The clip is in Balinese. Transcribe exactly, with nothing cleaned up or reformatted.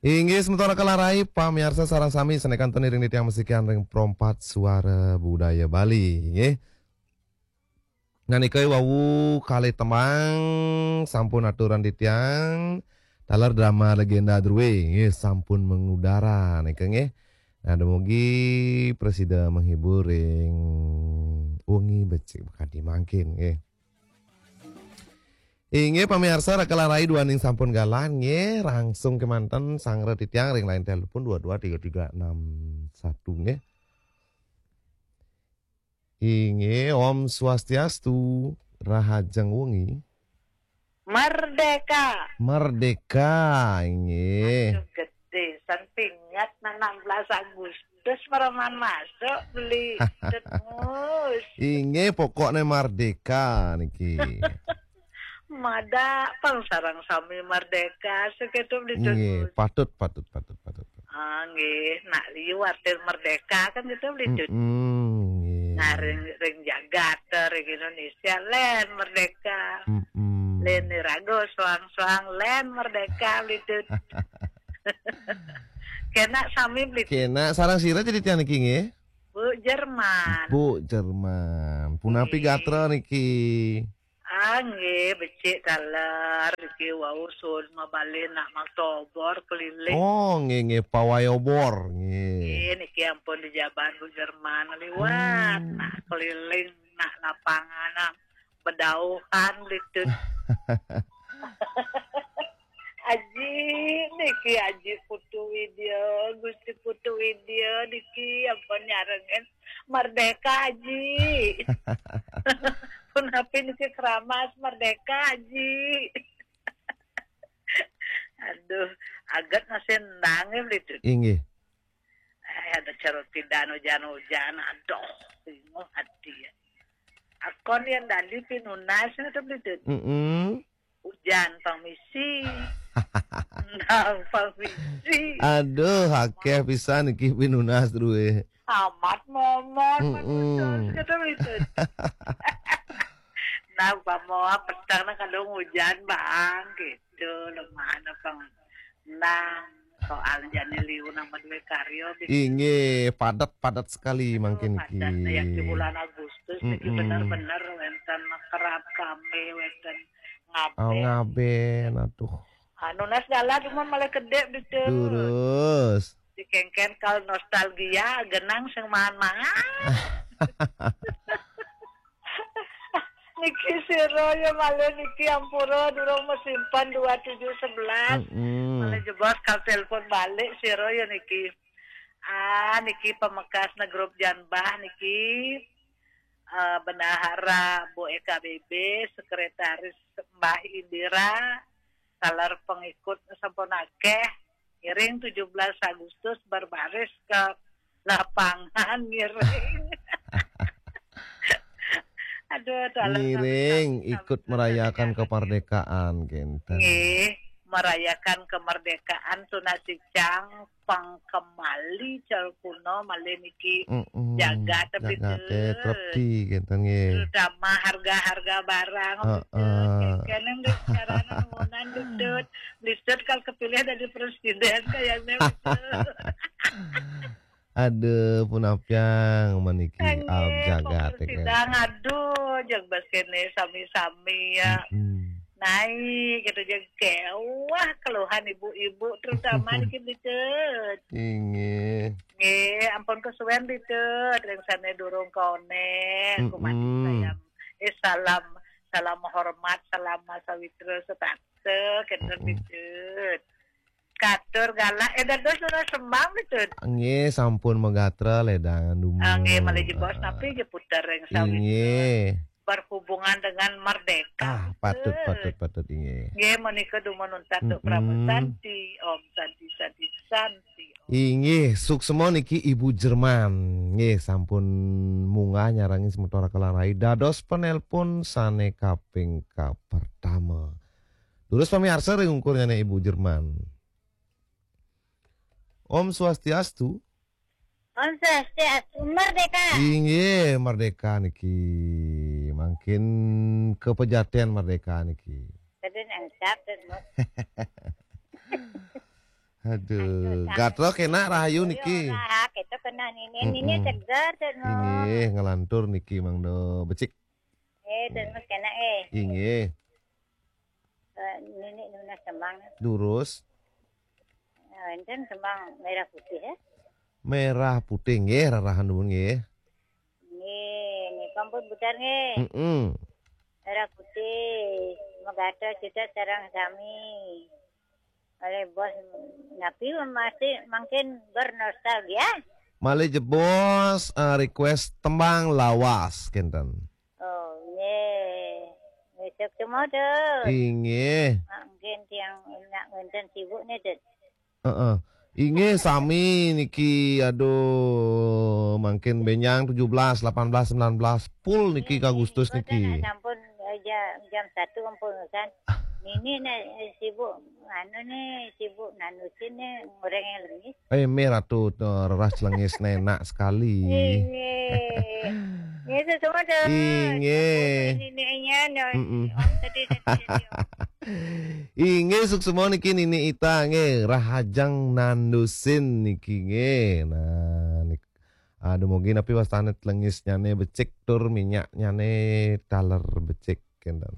Inggih, semeton Kelarai, pamiarsa sareng sami, sané kantun iring titiang masikian ring Pro empat Suara Budaya Bali, nggih. Nah, nika wau kalih tembang sampun aturan titiang, taler drama legenda drué, nggih, sampun mengudara nika, nggih. Nah, dumugi prasida menghibur ring wengi becik makadi mangkin, nggih. Inggih pamiarsa, Raka Larai duaning sampun galah, nggih, langsung kemanten sanggra titiang ring line telepon dua dua tiga tiga enam satu, nggih. Inggih, Om Swastiastu, rahajeng wengi. Merdeka. Merdeka, inggih. Aduh, gedé, san pinget nah enam belas Agustus mereman masuk beli Mus. Inggih, pokokné merdeka niki. Madak pang sareng sami merdeka, sakéto beli Inggih, Mus. Patut, patut, patut, patut. Ah, nggih, nak liu arti merdeka kan gitu beli Mus. Mm-mm, nggih. Nah, ring, ring jagat, ring Indonesia, lén merdeka. Mm-mm. Lén iraga soang-soang, lén merdeka beli Mus. Kénak sami beli Mus. Kénak sareng sira jadi tiang niki nggih? Bu Jerman. Bu Jerman. Punapi Nggih. Gatra niki? Ah, nggih, becik taler niki wau sun mabalih nak makta obor keliling. Oh, nggih, nggih, pawai obor, nggih. Nggih, niki ampun di jaban Bu Jerman liwat. Hmm. Nak keliling, nak lapangan, nak bedauhan gitu. Aji niki, Aji Putu Widya, Gusti Putu Widya niki ampun nyarengin merdeka, Aji. Punapi niki keramas merdeka, Aji. Aduh, aget masih endang ya, Bli Tut. Inggih. Eh, ada carut pidan hujan-hujan, aduh, bingung hati ya. Akon yang dali pinunas itu, Bli Tut. Mm-mm. Hujan pamisi. Endang pamisi. Aduh, akeh pisan iki pinunas druwe. Amat momon, Mm-mm. Kata Bli Tut. Nah, umpama petang nah kadung hujan, Bang, gitu. Lemah apa nang soal jani liu nama duwe karya, Bli Tut. Inggih, padat-padat sekali mangkin iki. Padat, ya, di bulan Agustus iki Mm-mm. Bener-bener wenten kerap kami, wenten ngaben. Oh, ngaben, aduh. Anu, nas dalan cuman malah kedek, Bli Tut. Terus. Dikengken kal nostalgia, genang sing maan-maan. Niki sira ya malih niki ampura durung masimpen dua tujuh sebelas. Mm-mm. Malih jebos kal telepon balik sira ya niki. Ah, niki pamekasna grup Janbah niki. Eh, Bendahara Bu E K B B, sekretaris Mbah Indira, taler pengikut sampun akeh. Ngiring tujuh belas Agustus berbaris ke lapangan ngiring. Aduh, taler Ngiring sami-sami ikut merayakan kemerdekaan, kenten. Nggih, merayakan kemerdekaan tunas sicang pang kemali cal kuno malih niki Mm-mm. Jagat, tapi Jagat, eh, trepti, kenten, nggih. Terutama harga-harga barang, Heeh. Betul. Kenen, Bli Tut, carana nuwunan, Bli Tut. Bli Tut kal kepilih dadi presiden kayaknya, Bli Tut. Aduh, punapian maniki Kangge Om Jagat, ya, sidang, aduh, jeg bas kene sami-sami ya. Mm-mm. Naik gitu, jeg kewah keluhan ibu-ibu, terutama niki, Bli Tut. Inggih. Nggih, ampun kesuwen, Bli Tut, ring sane durung konek, Mm-mm. Kumanti sayam. Eh, salam, salam hormat, salam sawitra setata, kenten, Mm-mm. Bli Tut. Katur galah, eh, dados ora sembang, Bli Tut. Nggih, sampun magatra ledangan dumun. Ah, nggih, malih jebos, ah, napi nggih puter ring sawitra. Inggih. Berhubungan dengan merdeka, Ah, patut, Bli Tut. Patut, patut, inggih. Nggih, menika dumun untat, Duk Mm-mm. Pramu Santi. Om Santi, Santi, Santi. Inggih, suksma niki Ibu Jerman. Nggih, sampun munggah nyarengin semeton Kelarai dados penelpon sane kaping kapertama. Terus pamiarsa ring ungkurnyane Ibu Jerman. Om Swastiastu. Om Swastiastu, merdeka. Inggih, merdeka niki. Mangkin kepejaten merdeka niki. Tadi nangkap, Bos. Aduh, gatra kenak rahayu niki. Ora, kita kena nini, nini seger tuh no. Inggih, ngelantur niki Mang Do becik. Eh, terus kena eh. Inggih. Eh, nini nunas tembang. Durus. Eh, enten tembang merah putih ya. Merah putih nggih, rarahan nuwun nggih. Nggih, nika pun putar nggih. Heeh. Merah putih, megata kita sareng sami. Oleh bos napi masih mungkin bernostalgia. Malih jebos eh, request tembang lawas kenten. Oh, nggih. Besok semua tuh. Inggih. Mungkin tiang nak ngenten sibuk nih, Dut. Heeh. Inggih sami niki, aduh, mangkin benjang tujuh belas, delapan belas, sembilan belas full niki ke Agustus niki. Sampun eh, ja- jam satu ampun kan. Nini nih eh, sibuk anu nih, sibuk nanusin nih, goreng yang lengis. Eh, meh Ratu, eh, rerah celengis nenak sekali. Nggih. Nggih, semua tuh. Inggih. Nininya no. Mm-mm. Om tadi tadi. Inggih, suksma niki Nini Ita nggih, rahajeng nandusin niki nggih. Nah, nik aduh, mungkin napi wastane lengisnyane becik tur minyaknyane taler becik kenten.